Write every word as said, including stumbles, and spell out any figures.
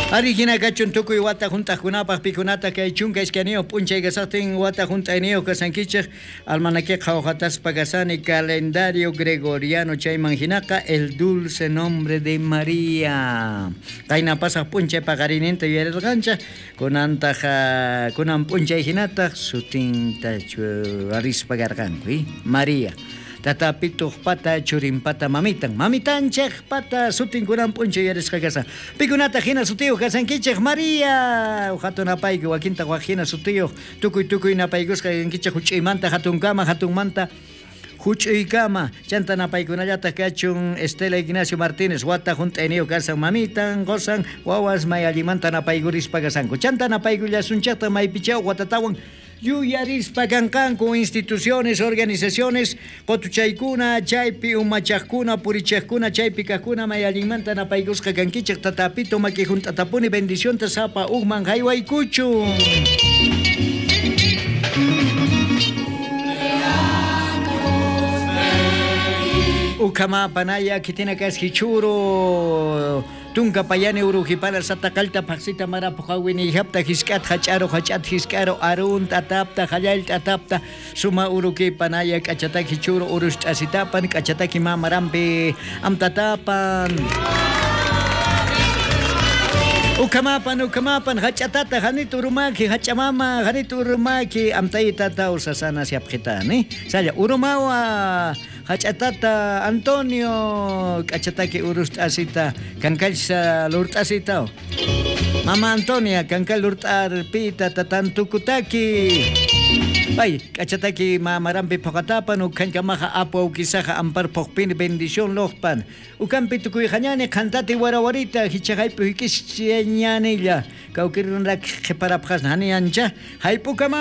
Arigina kachun tukuy wata junt'aqkunapaq pikunata kay chunka iskayniyuq p'unchay kasaqtin wata junt'ayniyuq kasankichik almanakiqa qhawqataspa kasani calendario gregoriano chayman hinaqa el dulce nombre de María. Qayna pasaq p'unchay paqarininta yuyarirqanchik kunantaq kunan p'unchay hinataq sutinta churarispa karqanku, ¿eh? María. Tata pituq pata churin pata mamitan mamitanchej pata sutin kunan p'unchay yuyarisqa kasan pikunata hina sutiyuq kasankichej María hatun napayku wakinta wak hina sutiyuq tukuy tukuy napaykusqa kankichej huch'uymanta hatunkama hatunmanta huch'uykama chanta napaykunallataq kachun Estela Ignacio Martínez wata junt'ayniyuq kasan mamitan qosan wawas may allimanta napaykurispa kasanku chanta napaykullasunchaqta maypichaw watatawan yuyarispa kanqanku instituciones, organizaciones, qotuchaykuna, chaypi umachaqkuna, purichaqkuna, chaypi kaqkuna may allinmanta napaykusqa kankichik tatapito maki junt'atapuni bendicionta sapa uqman haywaykuchun. Ukama panaya kitina kashichuro tunka payani urujipala sataqalta paqsita marapuqawini hapta hisk'at hach'aro hach'at hisk'aro arun tatapta hallal tatapta suma uruki panaya k'achataki churo urus ch'asitapan k'achataki mamarampi amtatapan. Ukamapan ukamapan hach'atata hanit urumaki hach'amama hanit urumaki amtaytata usasana siapqitani salla urumawa hach'atata Antonio k'achataki urus t'asita kankalsa lurt'asita Mama Antonia kankal lurt'arpita tatantukutaki Ay, k'achataki mamarampi phuqatapan ukhankamaqa apu awkisaqa ampar phuqpini bendición loqpan ukampi tukuyqañani qhantati warawarita hichaqaypi hik'isñanilla kawkirunraq qhiparapqasna hani ancha hayp'ukama.